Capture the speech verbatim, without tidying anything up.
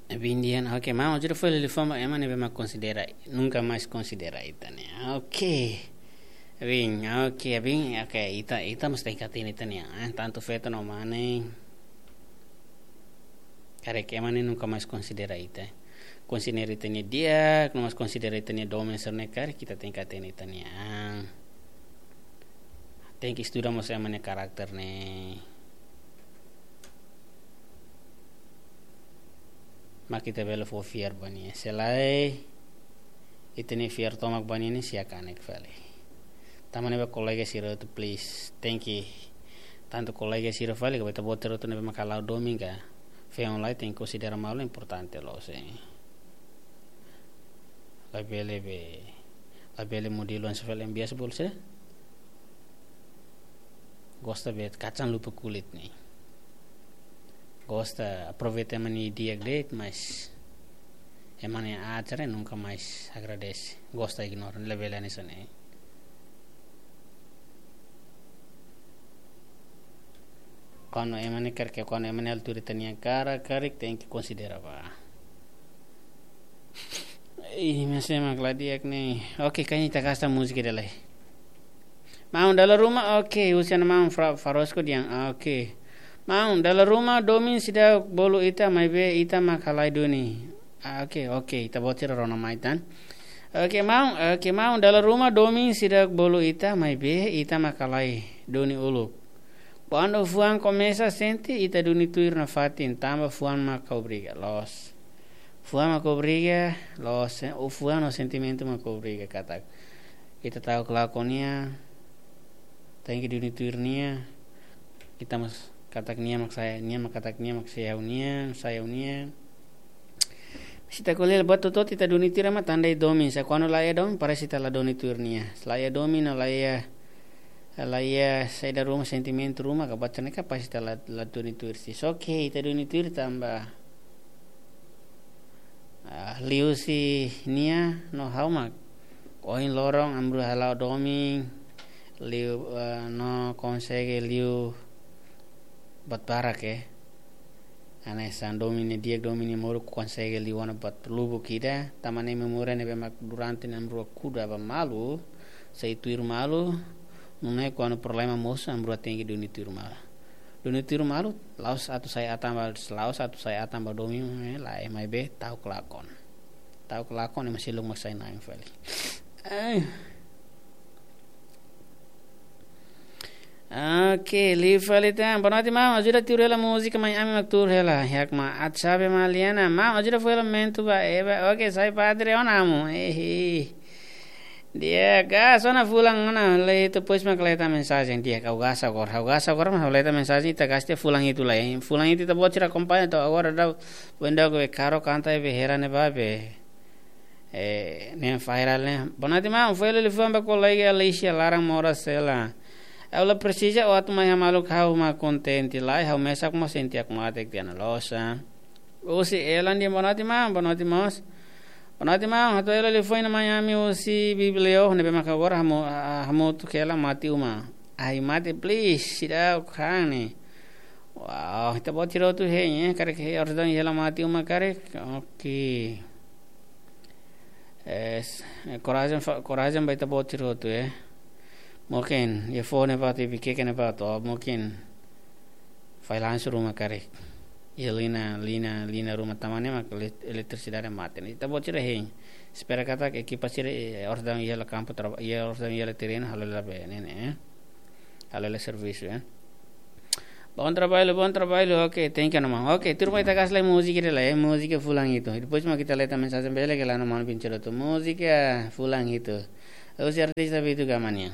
Abin dehan, oke, maun, ajuda fali liafuan ba ema ne'ebé mak konsidera, nunka mais konsidera ita ne'e. Oke. Abin, oke, abin, oke, ita, ita mós tenke hatene ita-nia an, eh, tantu feto no mane. Karik ema ne'e nunka mais konsidera ita. Konsidera ita-nia di'ak, no mós konsidera ita-nia domin sira-ne'e karik, ita tenke hatene ita-nia an. Tenke estuda mós ema nia karakter ne'e. Mak ita bele fó fiar ba nia. Se lae, ita-nia fiar tomak ba nia ne'e, sia kanek fali. Tanba ne'e ba kolega sira hotu, please, tenke. Tantu kolega sira fali, ka ba ita-boot sira hotu ne'ebé mak hala'o domin ka feen lai, tenke konsidera malu importante loos, eh. Labele be, labele modelu hanesan fali ema biasa bolu saida? Gosta be kacang lupa kulit ne'e. Gosta aproveita ema nia di'ak de'it, mas ema nia aat sira nunka mais agradese. Gosta ignora, labele hanesan ne'e. Kuandu ema ne'e karik, kuandu ema ne'e altura ita-nia karak, karik tenke konsidera ba. Ih, mesak mak la di'ak ne'e. Oke, kayaknya ita gasta múzika ida lai. Maun, dala ruma, oke, husi maun Fra-, Farosco dehan, oke. Maun, dala ruma domin seidauk bolu ita, maibé ita mak halai duni. Ah, oke, oke, ita-boot sira rona mai tan. Oke, maun, oke, maun, dala ruma domin seidauk bolu ita, maibé ita mak halai duni uluk. Kuandu fuan komesa sente, ita duni tuir nafatin, tanba fuan mak obriga, loos. Fuan mak obriga, loos, eh, o fuan no sentimentu mak obriga katak ita ta'uk lakon nia, tenke duni tuir nia, ita mós katak nia mak sai, nia mak katak nia mak sai ha'u-nian, sai ha'u-nian. Se ita ko'alia buat hotu-hotu ita duni tuir ema, tanba ida domin, se kuandu la iha domin, parese ita la duni tuir nia. Se la iha domin, no la iha, la iha saida ruma, sentimentu ruma, ka buat sira-ne'e kapás ita la, la duni tuir si. Só ke ita duni tuir tanba, ah, liuhusi nia no ha'u mak ohin loron ami rua hala'o domin, liu, eh, no konsege liu buat barak, eh. Hanesan domin nia di'ak, domin nia moruk, konsege liu ona buat lubuk ida, tanba ne'e memória ne'ebé mak durante ne'e ami rua kuda ba malu, sai tuir malu, nune'e kuandu problema mosu ami rua tenke duni tuir malu. Duni tuir malu, la'ós atu sai atan ba, la'ós atu sai atan ba domin, eh, lae, maibé ta'uk lakon. Ta'uk lakon, ema seluk mak sai na'in fali. Eh. Oke, liu fali tan. Boa noite, maun. Ajuda tuur hela múzika, maun, ami mak tuur hela. Hakmaat, sabe, Maliana. Maun, ajuda fó hela momentu ba eba. Oke, sai padre ona, maun. Ehe. Di'ak, gasta ona fulan ona, lei, depois mak leta mensajen. Di'ak, ha'u gasta agora. Ha'u gasta agora, mas ha'u leta mensajen, ita gasta fulan hitu lai. Fulan hitu ita-boot sira akompaña, to'o agora daudaun, benda ke karo kanta be hera ne'ebá be. Eh, ne'e viral ne'e. Boa noite, maun, fó hela liafuan ba kolega Alicia laran moras hela. Ha'u la presiza, o atu mai hamaluk ha'u mak kontente lai, ha'u mesak mós sente hakmatek tiha ona, loos. Husi Elan dehan boa noite, maun, boa noite, maun. Boa noite, maun, hato'o hela liafuan ida mai ami husi Biblio, ne'ebé mak agora hamu-, ha-, hamutuk hela mate uma. Ai mate, please, seidauk han ne'e. Wow, ita-boot sira hotu hein, eh, karik hein orasaun iha hela mate uma karik. Oke. Eh, s-, eh, korajen fa-, korajen ba ita-boot sira hotu, eh. Mungkin, iha foho ne'ebá, iha Viqueque ne'ebá, to'o mungkin failansu ruma karik. Iha liña, liña, liña ruma tanba ne'e mak ele-, eletrisidade mate. Ita-boot sira hein. Espera katak ekipa sira, eh, orasaun iha hela kampu traba-, iha orasaun iha hela terrenu, halo hela be, ne'e, ne'e, eh. Halo hela servisu, eh. Bom trabalho, bom trabalho. Oke, thank you, maun. Oke, tuur mai ita gasta lai múzika ida lai, eh, múzika fulan hitu. Depois mak ita leta mensajen bele ke la no maun bin ceroto. Múzika fulan hitu. Husi artista Vitu Gamania.